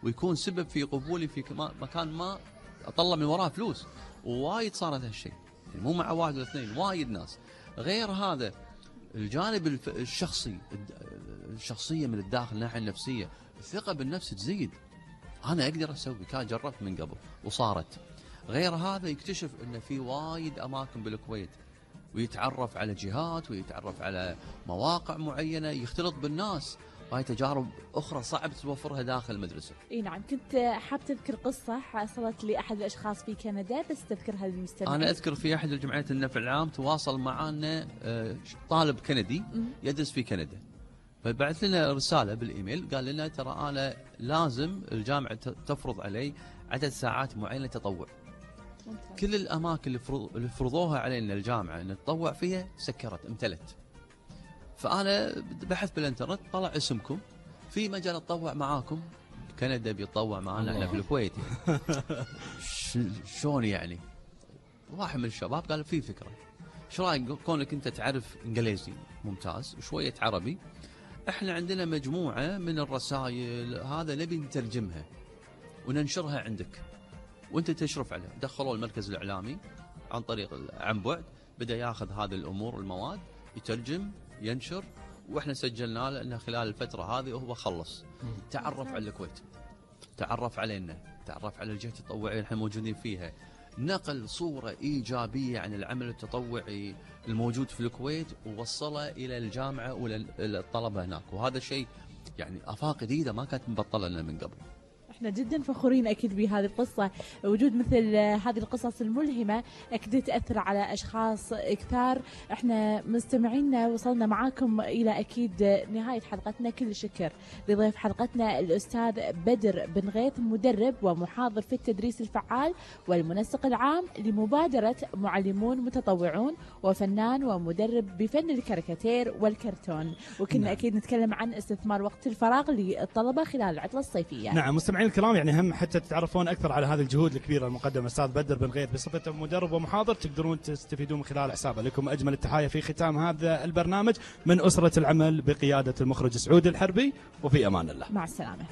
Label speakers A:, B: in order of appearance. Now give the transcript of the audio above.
A: ويكون سبب في قبولي في مكان ما اطلع من وراه فلوس. ووايد صارت هالشيء، يعني مو مع واحد ولا اثنين، وايد ناس. غير هذا الجانب الشخصية من الداخل، الناحية النفسية، الثقة بالنفس تزيد. أنا أقدر أسوي، كان جربت من قبل وصارت. غير هذا يكتشف أن في وايد أماكن بالكويت، ويتعرف على جهات، ويتعرف على مواقع معينة، يختلط بالناس. هاي تجارب أخرى صعب توفرها داخل المدرسة.
B: اي نعم. كنت حاب تذكر قصة حصلت لأحد الأشخاص في كندا، بس تذكرها للمستمعين.
A: أنا أذكر في أحد الجمعيات النفع العام تواصل معنا طالب كندي يدرس في كندا، فبعث لنا رسالة بالإيميل، قال لنا ترى أنا لازم الجامعة تفرض علي عدد ساعات معينة تطوع. ممتاز. كل الأماكن اللي فرضوها علينا الجامعة أن نتطوع فيها سكرت، امتلت. فأنا بحثت بالإنترنت، طلع اسمكم في مجال أتطوع معاكم. كندا بيتطوع معنا احنا في الكويت يعني. شلون يعني؟ واحد من الشباب قال في فكرة، شو رايك كونك انت تعرف انجليزي ممتاز وشوية عربي، احنا عندنا مجموعة من الرسائل هذا نبي نترجمها وننشرها عندك وانت تشرف عليها. دخلوا المركز الإعلامي عن طريق عن بعد، بدأ ياخذ هذه الأمور المواد، يترجم، ينشر، واحنا سجلنا له انه خلال الفترة هذه وهو خلص. تعرف على الكويت، تعرف علينا، تعرف على الجهة التطوعية اللي احنا موجودين فيها، نقل صورة إيجابية عن العمل التطوعي الموجود في الكويت ووصلها إلى الجامعة وللطلبة هناك. وهذا شيء يعني آفاق جديدة ما كانت مبطلة لنا من قبل.
B: احنا جدا فخورين اكيد بهذه القصه. وجود مثل هذه القصص الملهمه اكيد تاثر على اشخاص كثار. احنا مستمعينا وصلنا معاكم الى اكيد نهايه حلقتنا. كل شكر لضيف حلقتنا الاستاذ بدر بن غيث، مدرب ومحاضر في التدريس الفعال والمنسق العام لمبادره معلمون متطوعون، وفنان ومدرب بفن الكاريكاتير والكرتون. وكنا اكيد نتكلم عن استثمار وقت الفراغ للطلبه خلال العطله الصيفيه.
C: نعم مستمعين الكرام، يعني هم حتى تتعرفون اكثر على هذه الجهود الكبيره المقدمه استاذ بدر بن غيث بصفته مدرب ومحاضر، تقدرون تستفيدون من خلال حسابه. لكم اجمل التحايا في ختام هذا البرنامج من اسره العمل بقياده المخرج سعود الحربي، وفي امان الله.
B: مع السلامه.